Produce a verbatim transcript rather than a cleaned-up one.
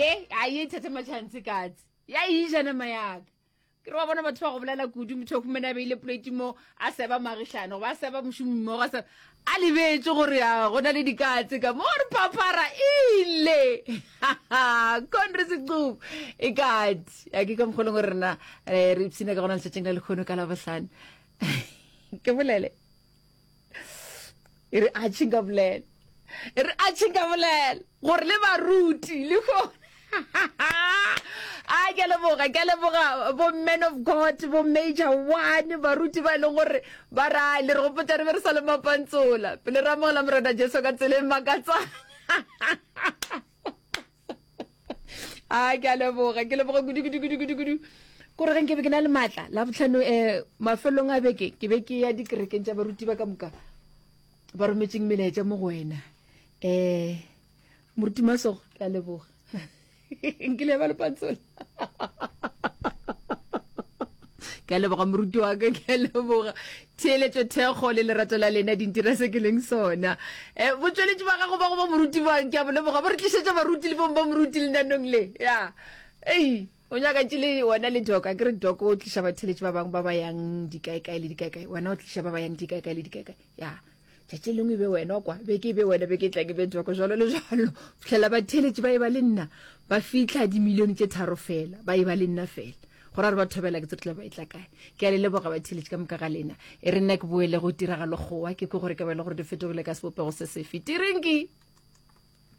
Ye a ye thatha matšhantse katse ya ija nama yaka. Ke re wa bona batho ba go bolela kudu, motho o humane a beile plate mo a seba magišano goba a seba mošomi mmogo, a seba a lebetše gore a go na le dikatse ka mo re phaphara ile. Conry Sequbu e kate a ke ka mokgolong gore rena eh, re ipshina ka gona letšatšing la lekgono ka Labohlano. Ke bolele e re a tšhinka bolela, e re a tšhinka bolela gore le baruti le kgone. A ke a leboga, ke a leboga bo man of God, bo major one, baruti ba e leng gore ba ra le re gopotsa re be re sa le mapantsola pele re amogela Morena Jesu ka tsela e makatsang. A ke a leboga, ke leboga kudu kudu kudu kudu kudu. Kore ge nke be ke na le maatla la botlhano um mafelong a beke ke be ke ya dikerekeng tša baruti ba ka moka ba rometseng melaetša mo go wena. Um moruti Masogo, ke a leboga. Nkile ba lepantsola. Ke a leboga moruti wa ka, ke a leboga. Theeletšo, thekgo le lerato la lena di ntira se ke leng sona. Eh, botšweletši ba gago ba go ba moruti ba ke a bo leboga, bo re tlišetša baruti le bong ba moruti lenanong le. Ya. Ei, o nyaka tše le wena le Doc, a ke re Doc o tliša batheeletši ba bangwe ba ba yang dikaekae le dikaekae, wena o tliša ba ba yang dikaekae le dikaekae. Ya. Tšatši lengwe e be wena kwa, beke e be wena, beke e tlang e be Doc, jwalo le jwalo. Fihlela batheeletši ba e ba le nna, ba fihla dimilione tše tharo fela, ba e ba le nna fela. Go ra re ba thobela ke tse re tla ba e tla kae. Ke a le leboga batheeletši ka moka ga lena. E re nna ke boele go tiragalo kgowa, ke kwe gore ke ba e le gore di fetogile ka sebopego se sefe. Tirinki!